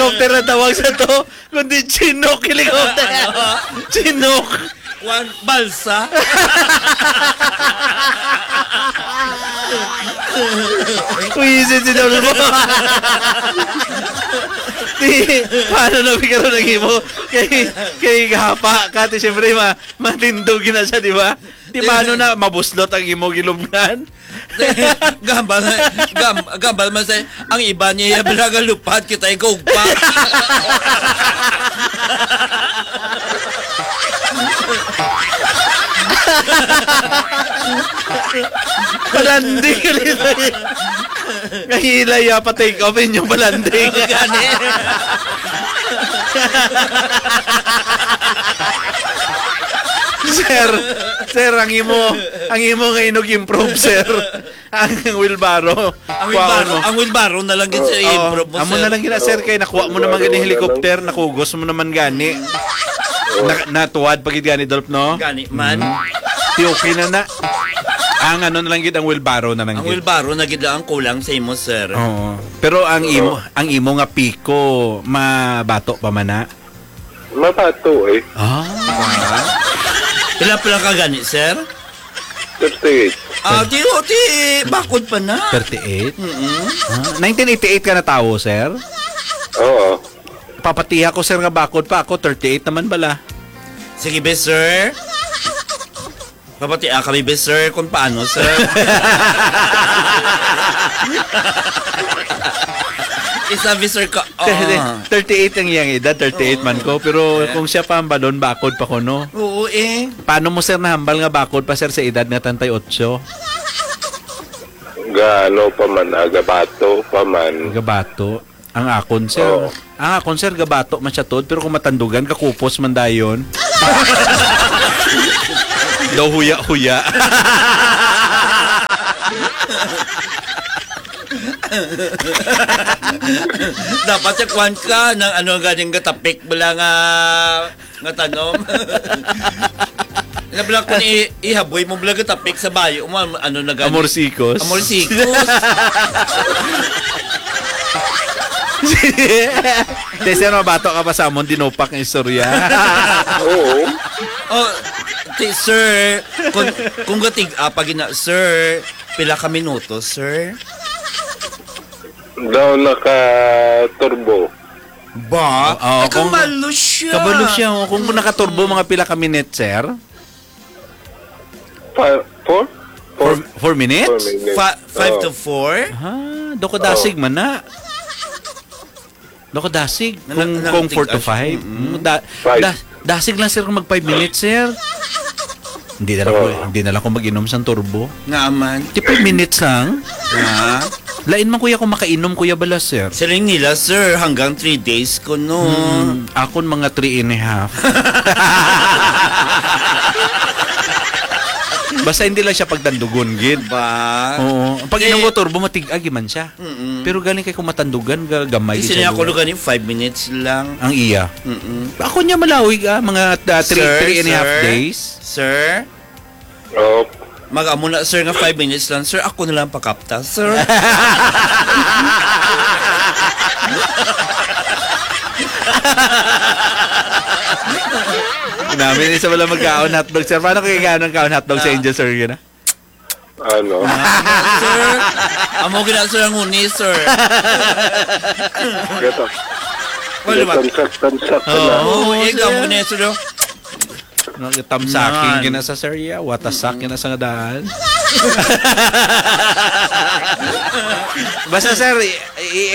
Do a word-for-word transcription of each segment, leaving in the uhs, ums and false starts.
helicopter ang tawag sa to, kundi Chinook helicopter. Chinook. Kwan, balsa. Wisit si Dolmo. Di, paano na karon ang imo? Kay, kay gahapa ka, ti siyempre, ma-, matindog na siya, di ba? Di paano na mabuslot ang imo gilubngan? Gambal, gam-, gambal man sa ang iba niya, bala nga lupad, kita ikaw pa. Palanding ka dito. Kahilay, ah, pa-take off inyong palanding. Gani. Sir, sir, ang imo, ang imo nga inog improve, sir. Ang wheelbarrow. Ang Kuha wheelbarrow, mo. Ang wheelbarrow na lang gid sa Oo, improve mo, amo sir. Na lang gina, sir, kay nakuha mo naman gani helicopter, nakugos mo naman gani. Na, natuwad pa gid gani, Dolph, no? Gani man. Mm. Di okay na na. Ang ano na lang gid, ang wheelbarrow na lang Ang gid. Wheelbarrow na gid lang ang kulang sa imo, sir. Oo. Pero ang imo, Oo. Ang imo nga piko, mabato pa man na? Mabato, eh. Ah. Pila, pila ka gani, sir? Thirty-eight. Ah, di, oh, di, bakod pa na. Thirty-eight? Mm-mm. Ah, nineteen eighty-eight ka na tawo, sir? Oo. Papatiya ko, sir, nga bakod pa ako, thirty-eight naman bala. Sige, be, sir. Papatiya kami, be, sir, kung paano, sir. Isa, be, sir, ka, ah. Thirty-eight ang iyang edad, thirty-eight Oo. Man ko, pero Eh? Kung siya pa ang balon, bakod pa ko, no? Oo, eh. Paano mo, sir, nahambal nga bakod pa, sir, sa edad nga treinta y ocho? Gaano pa man, ah, gabato pa man. Gabato. Ang akon, sir. Oo. Ang akon, sir, gabato man siya tod, pero kung matandugan, kakupos man dayon. Daw huya-huya. Dapat siya kuwan ka ng ano, ganing gatapik mo lang, ah, nga tanom. Nabla ko ni ihaboy mo bla tapik sa bayo mo, ano na gani? Amorsikos. Amorsikos. Te, sir, mabato ka pa sa amon, dinopak nga istorya. Oo. Oh, ti, sir, kung, kung gatig apa gina, sir, pila ka minuto, sir? Daw naka turbo. Ba? Oo, Ay, kung kabalo siya. Kabalo siya, oh. Kung nakaturbo, Mm. mga pila ka minutes, sir? Five, four? Four, Four? Four minutes? Four minutes. Fa-, five Oo. To four? Ah, doko dasig Oo. Man na. Doko dasig Na-, kung, na-, kung four to natigas. Five. Mm-mm. Mm, da-, Five. Da-, dasig lang, sir, kung mag five minutes, sir. Hindi na lang ko, Oo. Hindi na lang ko mag-inom sang turbo. Nga man. Di five minutes lang. Ha? Lain man, kuya, kung makainom, kuya, bala, sir. Siling nila, sir, hanggang three days ko, no? Hmm, akon mga three and a half. Basta hindi lang siya pagtandugon, gid. Ba? Oo. Ang pag-inom Eh, ko turbo, matig-agi man siya. Mm-mm. Pero galing kay kung matandugan, ga-, gamay Di siya siya ako doon. Lugan yung five minutes lang. Ang iya. Mm-mm. Ako niya malawig, ah, mga, ah, three, Sir, three and a half sir, days. Sir? Op. Mag-amo na, sir, nga five minutes lang, sir. Ako na lang pakapta, sir. Namin isa wala magkaon hotdog, sir. Paano kayo kaon ng kaon hotdog sa Ah. India, sir? Yun, ah? Ano? Sir, amo gina, sir, ang uni, sir. Gatam. Wala ba? Gatamsak-tamsak ka na. Oo, Oo, eh, sir. Amo gina, sir, oh. Nagatamsaking Nan. Gina sa sir, ya. Watasak gina sa nga daan. Basta, sir, i-,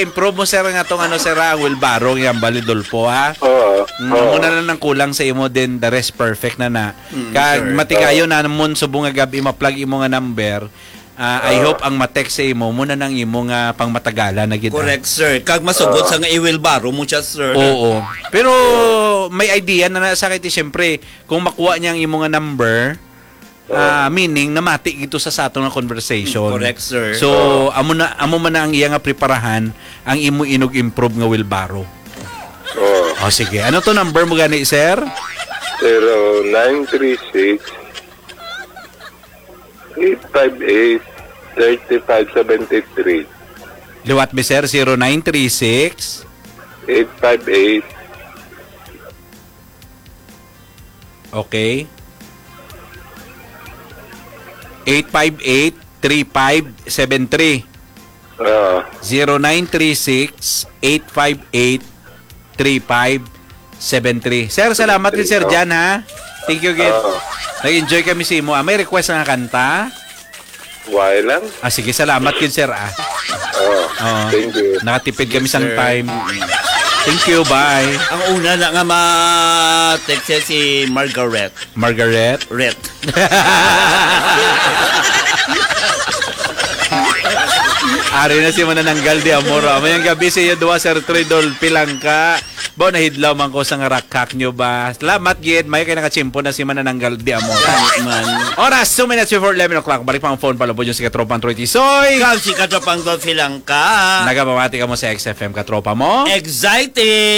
i-improve mo, sir, nga tong ano, sir, ah, ang wheelbarrow, yung Balidolpo, ha? Oo, Mm, oo. Muna na nang kulang sa imo, then the rest perfect na na. Mm, Kag sir. Matigayon Oo. Na namon subong nga gabi ma-plug imo nga number. Ah, I Ah. Hope ang ma-text sa imo muna nang imo nga pangmatagalan na gid, ah. Correct, sir. Kag masugot Ah. Sa nga i-wheelbarrow mo siya, sir. Oo. Pero may idea na na sa kay ti, siyempre, kung makuha niya ang imo nga number, Ah. Ah, meaning namati gito sa, sa ato nga conversation. Correct, sir. So, Ah. Amo na, amo man na ang iya nga preparahan ang imo inog improve nga wheelbarrow. Oh. Oh, sige. Ano to number mo gani, sir? Zero nine three six, eight five eight, thirty five seventy three. Liwat mi, sir, zero nine three six. eight five eight. Okay. Eight five eight, three five seven three. Ah. Zero nine three six, eight five eight, three five seven three. Sir, salamat gid, Sir Jan, ha? Thank you gid. Ah. Nag-enjoy kami sa imo. Ah, may request nga kanta? Why lang? Ah, sige, salamat gid, sir, ah. Oh, Oo. Thank you. Nakatipid kami sang time. Thank you, bye. Ang una na nga ma-text siya si Margaret. Margaret? Ret. Ari na si Manananggal de Amor. Ah, mayang gabi sa iyo, duwa, Sir Tridol Pilangka. Bo, nahidlaw man ko sa nga rakhak nyo ba? Salamat gid, may kay nakachimpo na si Manananggal de Amor. Man. Oras, two minutes before eleven o'clock. Balik pa ang phone, palubod yung si Katropang Troy Tisoy. Kag si Katropang Dot Filangka. Nagapamati ka mo sa X F M, Katropa mo? Exciting!